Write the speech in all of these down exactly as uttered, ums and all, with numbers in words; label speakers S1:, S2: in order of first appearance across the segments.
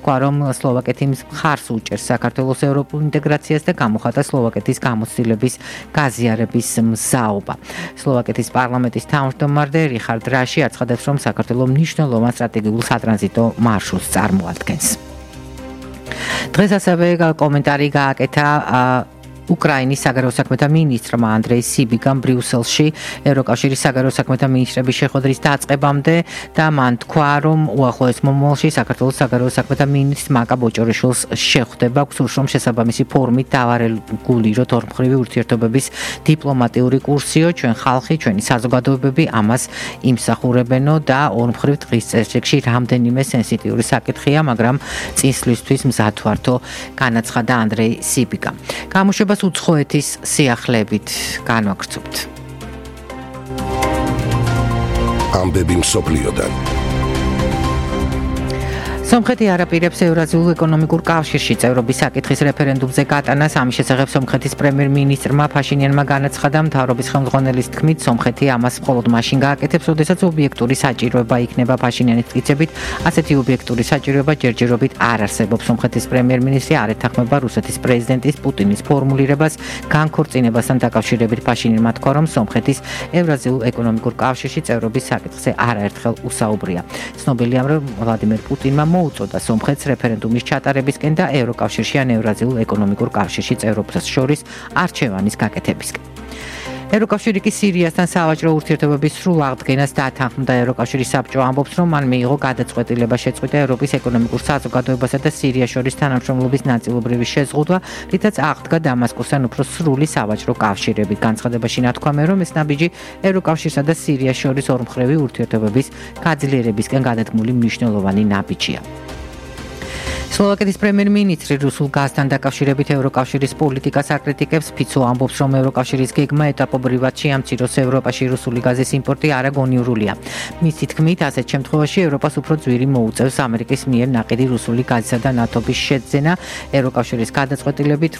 S1: თქვა, რომ სლოვაკეთი მხარს უჭერს საქართველოს ევროპულ ინტეგრაციას და გამოხატა სლოვაკეთის გამოცდილების გაზიარების მზაობა. სლოვაკეთის პარლამენტის თავმჯდომარე რიხარდ რაში აცხადებს, რომ საქართველოს მნიშვნელოვან სტრატეგიულ სატრანზიტო მარშრუტს წარმოადგენს. დღეს ასევე კომენტარი გააკეთა უკრაინის საგარეო საქმეთა მინისტრმა ანდრეი სიბიგამ ბრიუსელში ევროკავშირის საგარეო საქმეთა მინისტრების შეხვედრის დაწყებამდე და მან თქვა, რომ უახლოეს მომავალში საქართველოს საგარეო საქმეთა მინისტრ მაკა ბოჭორიშვილს შეხვდება, გსურს, რომ შესაბამისი ფორმით დავარეგულიროთ ორმხრივი ურთიერთობების დიპლომატიური კურსიო, ჩვენ ხალხი, ჩვენი საზოგადოებები ამას იმსახურებენო და ორმხრივ დღის წესრიგში რამდენიმე სენსიტიური საკითხია, მაგრამ წინსვლისთვის მზად ვართო, განაცხადა ანდრეი სიბიგამ. გამოშვებას უცხოეთის სიახლეებით განვაგრძობთ.
S2: ამბები მსოფლიოდან.
S1: სომხეთი არაპირებს ევრაზიულ ეკონომიკურ კავშირში წევრობის საკითხის რეფერენდუმზე გატანას. ამის შესახებ სომხეთის პრემიერ-მინისტრმა ფაშინიანმა განაცხადა, მთავრობის ხელმძღვანელის თქმით, სომხეთი ამას მხოლოდ მაშინ გააკეთებს, როდესაც ობიექტური საჭიროება იქნება ფაშინიანის მტკიცებით. ასეთი ობიექტური საჭიროება ჯერჯერობით არ არსებობს. სომხეთის პრემიერ-მინისტრი არ ეთანხმება რუსეთის პრეზიდენტის პუტინის ფორმულირებას განქორწინებასთან დაკავშირებით. ფაშინიანმა თქვა, რომ სომხეთის ევრაზიულ ეკონომიკურ კავშირში წევრობის საკითხზე არაერთხელ უსაუბრია. ცნობილია, რომ ვლადიმერ პუტინმა მოუწოდა სომხეთს რეფერენდუმის ჩატარებისკენ და ევროკავშირში ან ევრაზიულ ეკონომიკურ კავშირში წევრობას შორის არჩევანის გაკეთებისკენ. ევროკავშირი კი სირიასთან სავაჭრო ურთიერთობების სრულ აღდგენას დათანხმდა. ევროკავშირის საბჭო ამბობს, რომ მან მიიღო გადაწყვეტილება შეწყვიტა ევროპის ეკონომიკურ საზოგადოებასა და სირიას შორის თანამშრომლობის ნაწილობრივი შეზღუდვა, რითაც აღდგა დამასკოსთან უფრო სრული სავაჭრო კავშირები. განცხადებაში ნათქვამია, რომ ეს ნაბიჯი ევროკავშირსა და სირიას შორის ორმხრივი ურთიერთობების გაძლიერებისკენ გადადგმული მნიშვნელოვანი ნაბიჯია. სლოვაკეთის პრემიერ-მინისტრი რუსულ გაზთან დაკავშირებით ევროკავშირის პოლიტიკას აკრიტიკებს. ფიცო ამბობს, რომ ევროკავშირის გეგმა ეტაპობრივად შეამციროს ევროპაში რუსული გაზის იმპორტი არაგონიურულია. მისი თქმით, ასეთ შემთხვევაში ევროპას უფრო ძვირი მოუწევს ამერიკის მიერ ნაყიდი რუსული გაზისა და ნავთობის შეძენა. ევროკავშირის გადაწყვეტილებით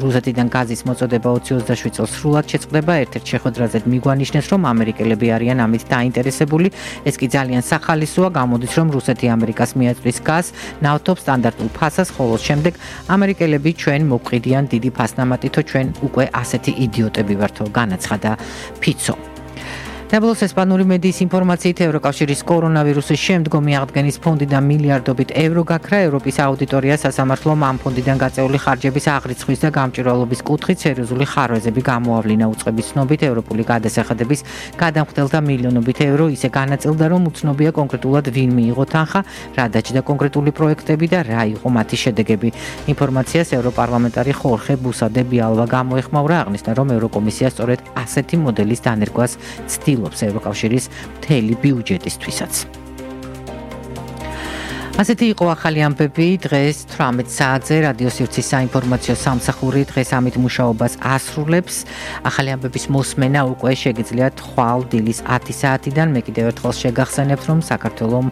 S1: რუსეთიდან გაზის მოწოდება ოცი ოცდაშვიდ წელს სრულად შეწყდება. ერთ-ერთ შეხვედრაზე მიგვალნიშნეს, რომ ამერიკელები არიან ამით დაინტერესებული. ეს კი ძალიან სახალისოა, გამოდის, რომ რუსეთი ამერიკას მიაწვის გაზს, ნავთობს სტანდარტ ფასას, ხოლო შემდეგ ამერიკელები ჩვენ მოვყიდიან დიდი ფასნამატითო, ჩვენ უკვე ასეთი იდიოტები ვართო, განაცხადა ფიცო. დაბლოს ესპანური მედიის ინფორმაციით ევროკავშირის კორონავირუსის შემდგომი აღდგენის ფონდიდან მილიარდობით ევრო გაქრა. ევროპის აუდიტორია სასამართლომ ამ ფონდიდან გაწეული ხარჯების აღრიცხვის და გამჭვირვალობის კუთხით სერიოზული ხარვეზები გამოავლინა. უწყების ცნობით ევროპული გადასახადების გადამხდელთა მილიონობით ევრო ისე განაწილდა, რომ უცნობია კონკრეტულად ვინ მიიღო თანხა, რა დაჭდა კონკრეტული პროექტები და რა იყო მათი შედეგები. ინფორმაციას ევროპარლამენტარი ხორხე ბუსადე ბიალვა გამოეხმაურა, აღნიშნა, რომ ევროკომისია სწორედ ასეთი მოდელის დანერგვას ცდილობს ევროკავშირის მთელი ბიუჯეტისთვისაც. ასეთი იყო ახალი ამბები დღეს თვრამეტ საათზე რადიო სივრცის საინფორმაციო სამსახური დღეს ამით მუშაობას ასრულებს. ახალი ამბების მოსმენა უკვე შეგიძლიათ ხვალ დილის ათი საათიდან. მე კიდევ ერთხელ შეგახსენებთ, რომ საქართველომ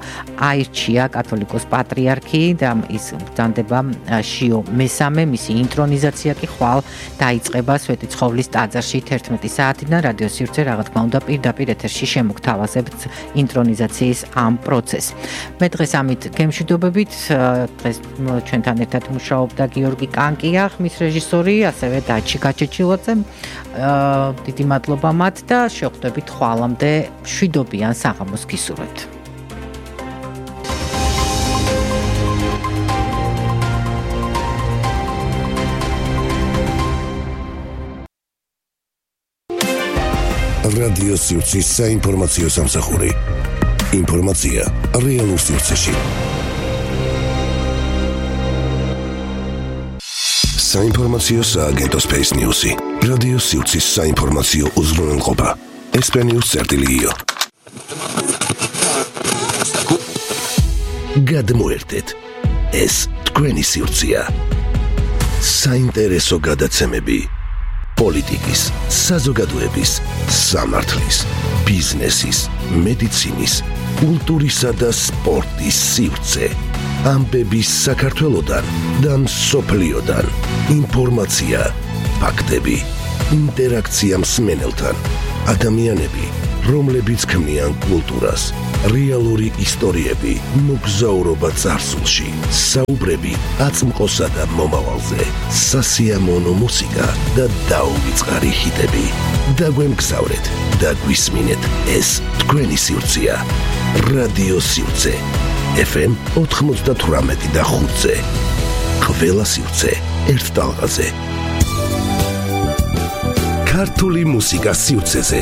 S1: აირჩია კათოლიკოს პატრიარქი და ის ბრძანდება შიო მესამე, მისი ინტრონიზაცია კი ხვალ დაიწყება სვეტი ცხოვლის ტაძარში თერთმეტი საათიდან. რადიო სივრცე რა თქმა უნდა პირდაპირ ეთერში შემოგთავაზებთ ინტრონიზაციის ამ პროცესს. მე დღეს ამით მშვიდობებით დღეს ჩვენთან ერთად მუშაობდა გიორგი კანკია, ხმის რეჟისორი, ასევე დაჩი გაჩეჩილაძე. დიდი მადლობა მათ და შევხვდებით ხვალამდე მშვიდობიან საღამოს გისურვებთ.
S2: რადიო სივრცის საინფორმაციო სამსახური. ინფორმაცია რეალურ სივრცეში. საინფორმაციო სააგენტო Space News-ი. რადიო სივრცის საინფორმაციო უზრუნველყოფა. ესპანიურ წერტილიო. გადმოერთეთ. ეს თქვენი სივრცეა. საინტერესო გადაცემები. პოლიტიკის, საზოგადოების, სამართლის, ბიზნესის, მედიცინის, კულტურისა და სპორტის სივრცე. ამბები საქართველოდან და მსოფლიოდან. ინფორმაცია, ფაქტები, ინტერაქცია მსმენელთან, ადამიანები, რომლებიც ქმნიან კულტურას, რეალური ისტორიები, მოგზაურობა წარსულში, საუბრები აწმყოსა და მომავალზე, სასიამოვნო მუსიკა და დაუვიწყარი ჰიტები. დაგვემგზავრეთ და გვისმინეთ ეს თქვენი სივრცეა. რადიო სივრცე ეფ ემ ოთხმოცდათვრამეტი და ხუთზე. ყველა სივრცე ერთ ტალღაზე. ქართული მუსიკა სივრცეზე.